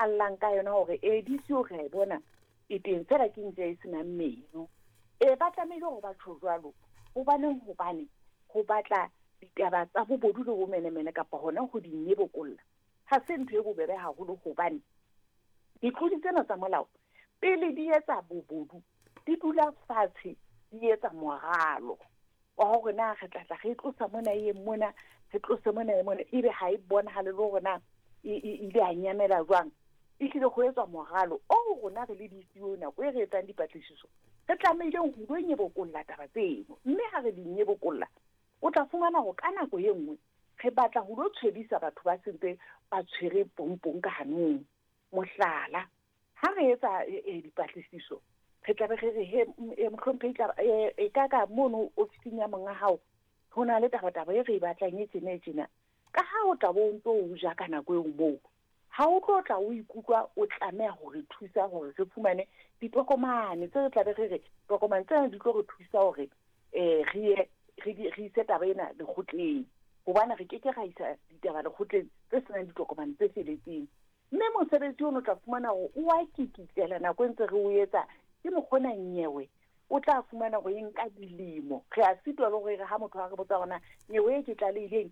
a llang ka yona hore ee DCO re a e bona e teng fela ke ntja e senang meno. Ee ba tlamehile hore ba tjho jwalo hobaneng hobane ho batla ditaba tsa bobodu le bomenemene kapa hona ho di nyebokolla ha se ntho e bobebe haholo hobane ditlodi tsena tsa molao pele di etsa bobodu di dula fatshe di etsa moralo wa hore na re tla tla re tlosa mona e ye mona, re tlose mona e mona, ebe ha e bonahale le hore na e ile ya nyamela jwang. Ehlile ho etswa moralo oo rona re le DCO nako e re etsang dipatlisiso re tlamehileng ho lo nyebokolla taba tseno, mme ha re di nyebokolla o tla fumana hore ka nako e nngwe re batla ho lo tshwebisa batho ba sentse ba tshwere pompong ka hanong. Mohlala, ha re etsa dipatlisiso re tla be re re he mohlomphehi tla e ka ka mono ofising ya monga hao ho na le tabataba e re e batlang e tjena e tjena. Ka ha o tla bo o ntso o ja ka nako eo moo, ha o tlo tla o ikutlwa o tlameha ho re thusa hore re fumane ditokomane tse re tla be re re tokomane tsena di tlo re thusa hore re ye re ise taba ena lekgotleng, hobane re keke ra isa ditaba lekgotleng tse senang ditokomane tse feletseng. Mme mosebetsi ono o tla fumana hore o a kikitlela nako e ntse re o etsa ke mokgona nyewe o tla fumana hore e nka dilemo. Re a sitwa le hore re ha motho a re botsa hore na nyewe e ke tlalehileng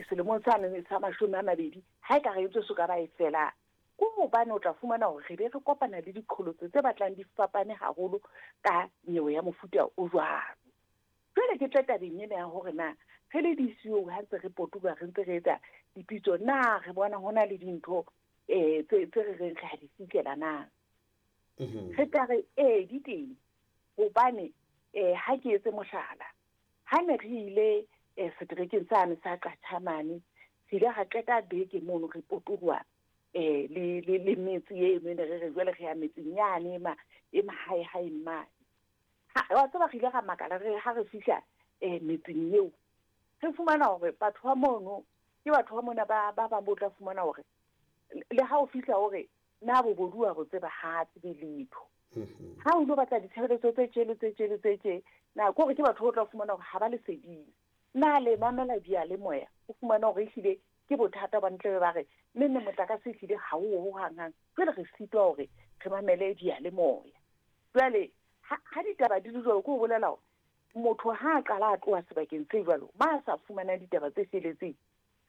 selemong sane sa 20 ha e ka re ntse so ka ba e fela. Ke hobane o tla fumana hore re be re kopana le diqholotso tse batlang di fapane haholo ka nyewe ya mofuta o jwalo. Jwale ke tle tabeng ena ya hore na re le DCO ha ntse re potoloha re ntse re etsa dipitso na re bona hona le dintho tse re reng re a di fihlela na. Re tla re ee di teng hobane ha ke etse mohlala, ha ne re ile seterekeng sane sa Qatjhamane, re ile ra qeta beke mono re potoloha le metse eno e ne re re jwale re ya metseng yane e mahaehaeng mane. Wa tseba re ile ra makala re ha re fihla metseng eo, re fumana hore batho ba mono ke batho ba mona ba bang bo tla fumana hore le ha o fihla hore na bobodu wa bo tseba ha tsebe letho. Ha o lo batla ditshebeletso tse tje le tse tje le tse tje, na ke hore ke batho o tla fumana hore ha ba leseding. Na le mamela diyalemoya, o fumana hore ehlile ke bothata ba ntle ba re mme nne motlakase ehlile ha o ho hanghang. Jwale re sitwa hore re mamele diyalemoya. Jwale ha ditaba di le jwalo, ke ho bolela hore motho ha a qala a tloha sebakeng se jwalo, ba sa fumana ditaba tse feletseng.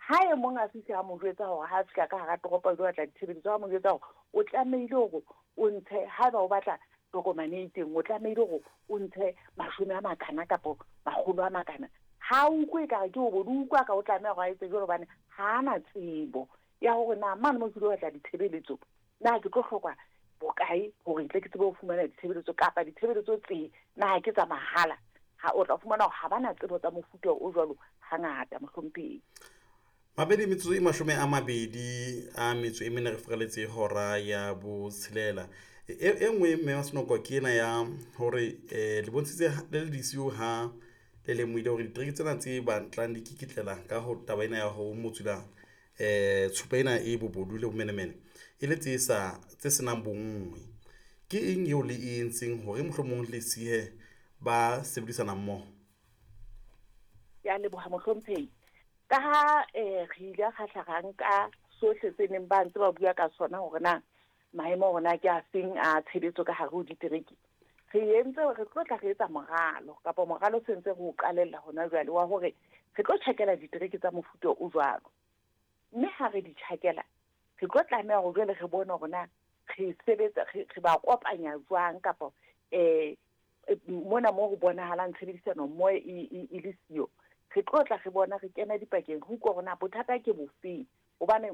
Ha e mong a fihla a mo jwetsa hore ha a fihla ka hara toropo a ilo batla ditshebeletso, a mo jwetsa hore o tlamehile hore o ntshe, haeba o batla tokomane e itseng, o tlamehile hore o ntshe 10 a makana kapa 100 a makana. Ha o utlwe ekare ke o bo utlwa ka o tlameha hore a etse jwalo hobane ha ana tsebo ya hore na mane mo ke lo batla ditshebeletso, na ke tlo hloka bokae hore ntle ke tsebe ho fumana ditshebeletso kapa ditshebeletso tse na ke tsa mahala. Ha o tla fumana hore ha bana tsebo tsa mofuta o jwalo hangata mohlomphehi. Mabedi metsotso e 24 re furaletse hora ya 6. E nngwe mme wa Senoko ke ena ya hore le bontshitse le le DCO ha le lemohile hore ditereke tsena tse batlang di kikitlela ka ho taba ena ya ho motsula tshupa ena e bobodu le bomenemene e le tse senang bonngwe. Ke eng eo le e entseng hore mohlomong le sihe ba sebedisana mmoho? Ke a leboha mohlomphehi. Ka ha re ile ra hla ra nka sohle tse neng ba ntse ba bua ka sona hore na maemo hore na ke a feng a tshebetso ka hare ho ditereke, re entse re tlo tla re etsa moralo kapa moralo se ntse re o qalella hona jwale wa hore re tlo tjhakela ditereke tsa mofuta o jwalo. Mme ha re di tjhakela re tlo tlameha hore jwale re bone hore na re sebetsa re ba kopanya jwang kapa mona mo ho bonahalang tshebedisano mmoho e le siyo. Re tlo tla re bona re kena dipakeng re utlwa hore na bothata ke bofeng, hobane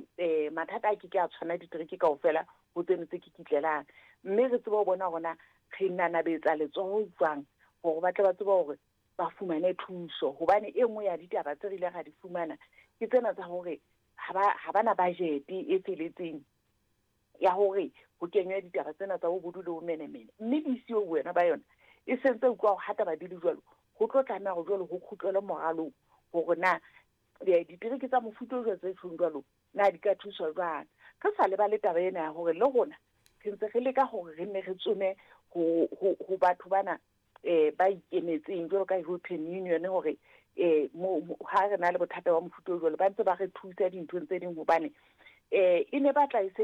mathata a ke ke a tshwana ditereke kaofela ho tseno tse kikitlelang. Mme re tsebe ho bona hore na re nanabetsa letsoho jwang hore ba tle ba tsebe hore ba fumane thuso, hobane e nngwe ya ditaba tse re ile ra di fumana ke tsena tsa hore ha bana budget e feletseng ya hore ho kenywe ditaba tsena tsa bobodu le bomenemene. Mme DCO wena ba yona e sentse utlwa hore ha taba di le jwalo, ho tlo tlameha hore jwale ho kgutlelwe moralong hore na ditereke tsa mofuta o jwalo tse tjhong jwalo na di ka thuswa jwang. Re sa lebale taba ena ya hore le rona re ntse re leka hore re nne re tsome ho batho bana ba ikemetseng jwalo ka European Union hore ha re na le bothata ba mofuta o jwalo ba ntse ba re thusa dinthong tse ding, hobane e ne batla e se